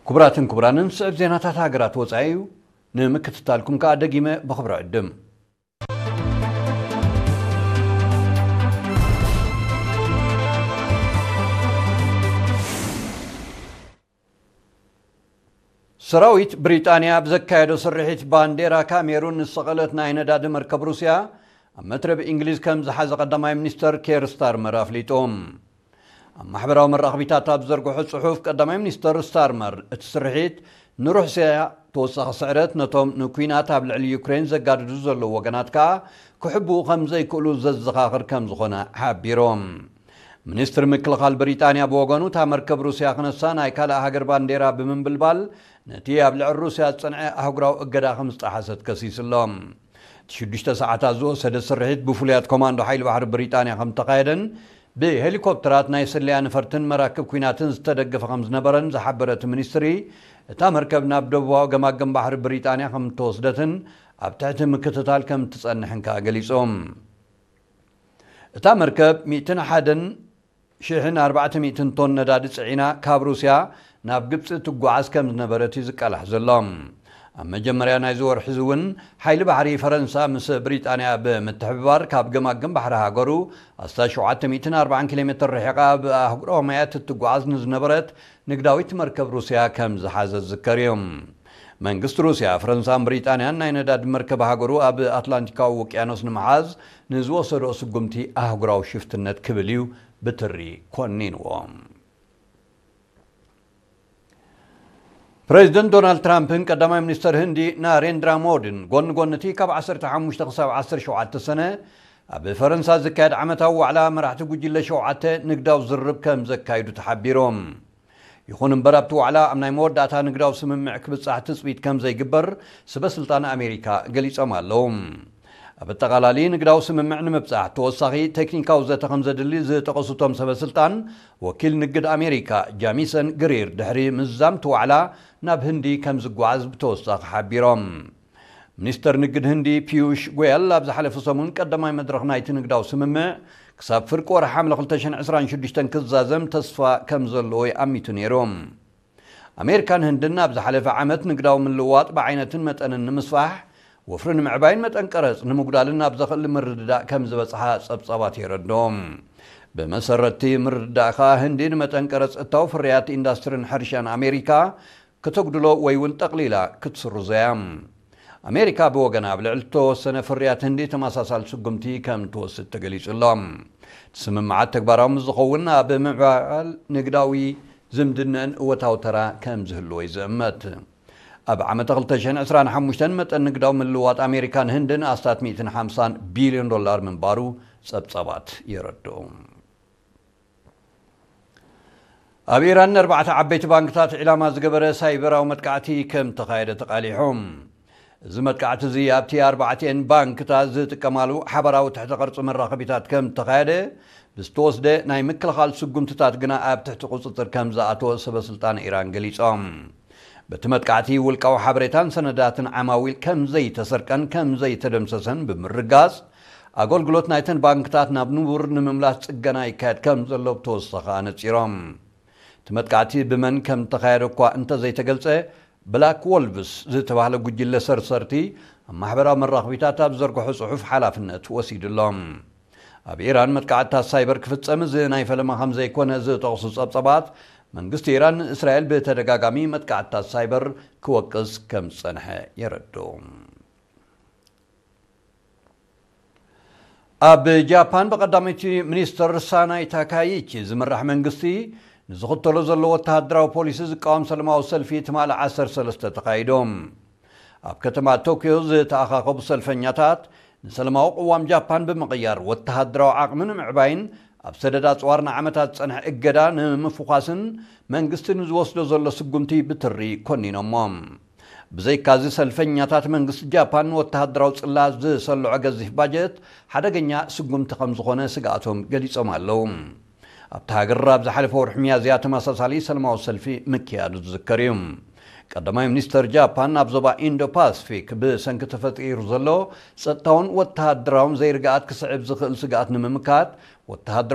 ክቡራትን ክቡራንን፣ ስዕብ ዜናታት ሃገራት ወጻኢ እዩ። ንምክትታልኩም ከኣ ደጊመ ብኽብሪ ዕድም። ሰራዊት ብሪጣንያ ኣብ ዘካየዶ ስርሒት፣ ባንዴራ ካሜሩን ዝሰቐለት ናይ ነዳዲ መርከብ ሩስያ ኣብ መትረብ እንግሊዝ ከም ዝሓዘ ቀዳማይ ሚኒስተር ኬር ስታርመር ኣፍሊጡ። ኣብ ማሕበራዊ መራኸቢታት ኣብ ዝዘርግሖ ጽሑፍ፣ ቀዳማይ ሚኒስተር ስታርመር፣ እቲ ስርሒት ንሩስያ ተወሳኺ ስዕረት፣ ነቶም ንኲናት ኣብ ልዕሊ ዩክሬን ዘጋድዱ ዘለዉ ወገናት ከኣ ክሕብኡ ከም ዘይክእሉ ዘዘኻኽር ከም ዝኾነ ሓቢሮም። ሚኒስትሪ ምክልኻል ብሪጣንያ ብወገኑ፣ እታ መርከብ ሩስያ ክነሳ ናይ ካልእ ሃገር ባንዴራ ብምንብልባል፣ ነቲ ኣብ ልዕሊ ሩስያ ዝጸንዐ ኣህጉራዊ እገዳ ከም ዝጠሓሰት ከሲሱ ኣሎ። እቲ ሽዱሽተ ሰዓታት ዝወሰደ ስርሒት ብፍሉያት ኮማንዶ ሓይሊ ባሕሪ ብሪጣንያ ከም ተኻየደን ብሄሊኮፕተራት ናይ ስለያ ነፈርትን መራክብ ኲናትን ዝተደገፈ ከም ዝነበረን ዝሓበረ እቲ ሚኒስትሪ፣ እታ መርከብ ናብ ደቡባዊ ገማግም ባሕሪ ብሪጣንያ ከም እተወስደትን ኣብ ትሕቲ ምክትታል ከም እትጸንሕን ከኣ ገሊጹ። እታ መርከብ ሚእትን ሓደን ሽሕን ኣርባዕተ ሚእትን ቶን ነዳዲ ጽዒና ካብ ሩስያ ናብ ግብጺ ትጓዓዝ ከም ዝነበረት እዩ ዝቃላሕ ዘሎ። ኣብ መጀመርያ ናይዚ ወርሒ እዚ እውን፣ ሓይሊ ባሕሪ ፈረንሳ ምስ ብሪጣንያ ብምትሕብባር፣ ካብ ገማግም ባሕሪ ሃገሩ ኣስታት ሸውዓተ ሚእትን ኣርባዓን ኪሎ ሜትር ርሒቓ ብኣህጉራዊ ማያት እትጓዓዝ ንዝነበረት ንግዳዊት መርከብ ሩስያ ከም ዝሓዘ ዝዝከር እዩ። መንግስቲ ሩስያ፣ ፈረንሳን ብሪጣንያን ናይ ነዳዲ መርከብ ሃገሩ ኣብ ኣትላንቲካዊ ውቅያኖስ ንምሓዝ ንዝወሰዶ ስጉምቲ ኣህጉራዊ ሽፍትነት ክብል እዩ ብትሪ ኮኒንዎ። ፕሬዚደንት ዶናልድ ትራምፕን ቀዳማይ ሚኒስተር ህንዲ ናሬንድራ ሞድን፣ ጎኒ ጎኒ እቲ ካብ ዓሰርተ ሓሙሽተ ክሳብ ዓሰርተ ሸውዓተ ሰነ ኣብ ፈረንሳ ዝካየድ ዓመታዊ ዋዕላ መራሕቲ ጉጅለ ሸውዓተ ንግዳዊ ዝርርብ ከም ዘካይዱ ተሓቢሮም። ይኹን እምበር፣ ኣብቲ ዋዕላ ኣብ ናይ መወዳእታ ንግዳዊ ስምምዕ ክብጻሕ ትጽቢት ከም ዘይግበር ስበ ስልጣን ኣሜሪካ ገሊጾም ኣለዉ። ኣብ ኣጠቓላሊ ንግዳዊ ስምምዕ ንምብጻሕ ተወሳኺ ቴክኒካዊ ዘተ ከም ዘድሊ ዝጠቐሱ እቶም ሰበ ስልጣን፣ ወኪል ንግድ ኣሜሪካ ጃሚሰን ግሪር ድሕሪ ምዝዛም እቲ ዋዕላ ናብ ህንዲ ከም ዝጓዓዝ ብተወሳኺ ሓቢሮም። ሚኒስተር ንግድ ህንዲ ፒዩሽ ጎያል ኣብ ዝሓለፈ ሰሙን ቀዳማይ መድረኽ ናይቲ ንግዳዊ ስምምዕ ክሳብ ፍርቂ ወርሒ ሓምለ ክልተ ሽሕን ዕስራን ሽዱሽተን ክዛዘም ተስፋ ከም ዘለዎ ይኣሚቱ ነይሩ። ኣሜሪካን ህንድን ኣብ ዝሓለፈ ዓመት ንግዳዊ ምልውዋጥ ብዓይነትን መጠንን ንምስፋሕ፣ ወፍሪ ንምዕባይን መጠን ቀረጽ ንምጉዳልን ኣብ ዘኽእል ምርድዳእ ከም ዝበጽሓ ጸብጻባት የረድኦም። ብመሰረትቲ ምርድዳእ ከኣ፣ ህንዲ ንመጠን ቀረጽ እታው ፍርያት ኢንዳስትሪን ሕርሻን ኣሜሪካ ክተጉድሎ ወይ እውን ጠቕሊላ ክትስርዞ እያ። ኣሜሪካ ብወገና፣ ኣብ ልዕሊ እተወሰነ ፍርያት ህንዲ ተመሳሳሊ ስጉምቲ ከም ትወስድ ተገሊጹ ኣሎ። እቲ ስምምዓት ተግባራዊ ምስ ዝኸውን፣ ኣብ ምዕባል ንግዳዊ ዝምድነን እወታዊ ተራ ከም ዝህልዎ እዩ ዝእመት። ኣብ ዓመተ ክልተ ሽሕን ዕስራን ሓሙሽተን መጠን ንግዳዊ ምልውዋጥ ኣሜሪካን ህንድን ኣስታት ሚእትን ሓምሳን ቢልዮን ዶላር ምንባሩ ጸብጻባት የረድኡ። ኣብ ኢራን ንኣርባዕተ ዓበይቲ ባንክታት ዒላማ ዝገበረ ሳይበራዊ መጥቃዕቲ ከም ተኻየደ ተቓሊሑ። እዚ መጥቃዕቲ እዚ ኣብቲ ኣርባዕቲኤን ባንክታት ዝጥቀማሉ ሓባራዊ ትሕተ ቅርጺ መራኸቢታት ከም ተኻየደ ብዝተወስደ ናይ ምክልኻል ስጉምትታት ግና ኣብ ትሕቲ ቁጽጽር ከም ዝኣተወ ሰበ ስልጣን ኢራን ገሊጾም። በቲ መጥቃዕቲ ውልቃዊ ሓበሬታን ሰነዳትን ዓማዊል ከም ዘይተሰርቀን ከም ዘይተደምሰሰን ብምርጋጽ፣ ኣገልግሎት ናይተን ባንክታት ናብ ንቡር ንምምላስ ጽገና ይካየድ ከም ዘሎ ብተወሳኺ ኣነጺሮም። እቲ መጥቃዕቲ ብመን ከም እተኻየደ እኳ እንተዘይተገልጸ፣ ብላክ ዎልቭስ ዝተባህለ ጉጅለ ሰርሰርቲ ኣብ ማሕበራዊ መራኸቢታት ኣብ ዝዘርግሖ ጽሑፍ ሓላፍነት ወሲዱ ኣሎ። ኣብ ኢራን መጥቃዕትታት ሳይበር ክፍጸም እዚ ናይ ፈለማ ከም ዘይኮነ ዝጠቕሱ ጸብጸባት፣ መንግስቲ ኢራን ንእስራኤል ብተደጋጋሚ መጥቃዕትታት ሳይበር ክወቅስ ከም ዝጸንሐ የረድኡ። ኣብ ጃፓን ብቀዳመይቲ ሚኒስትር ሳናይ ታካይቺ ዝምራሕ መንግስቲ ንዝኽተሎ ዘሎ ወተሃደራዊ ፖሊሲ ዝቃወም ሰላማዊ ሰልፊ ትማሊ ዓሰርተ ሰለስተ ተኻይዱ። ኣብ ከተማ ቶክዮ ዝተኣኻኸቡ ሰልፈኛታት፣ ንሰላማዊ ቅዋም ጃፓን ብምቕያር፣ ወተሃደራዊ ዓቕሚ ንምዕባይን ኣብ ሰደድ ኣጽዋር ንዓመታት ዝጸንሐ እገዳ ንምፍዃስን መንግስቲ ንዝወስዶ ዘሎ ስጉምቲ ብትሪ ኮኒኖሞ። ብዘይካዚ፣ ሰልፈኛታት መንግስቲ ጃፓን ንወተሃደራዊ ጽላት ዝሰልዖ ገዚፍ ባጀት ሓደገኛ ስጉምቲ ከም ዝኾነ ስግኣቶም ገሊጾም ኣለዉ። ኣብታ ሃገር ኣብ ዝሓለፈ ወርሒ ሚያዝያ ተመሳሳሊ ሰላማዊ ሰልፊ ምክያዱ ዝዝከር እዩ። ቀዳማይ ሚኒስተር ጃፓን፣ ኣብ ዞባ ኢንዶ ፓስፊክ ብሰንኪ ተፈጢሩ ዘሎ ጸጥታውን ወተሃደራውን ዘይርግኣት ክስዕብ ዝኽእል ስግኣት ንምምካት፣ ወተሃደራዊ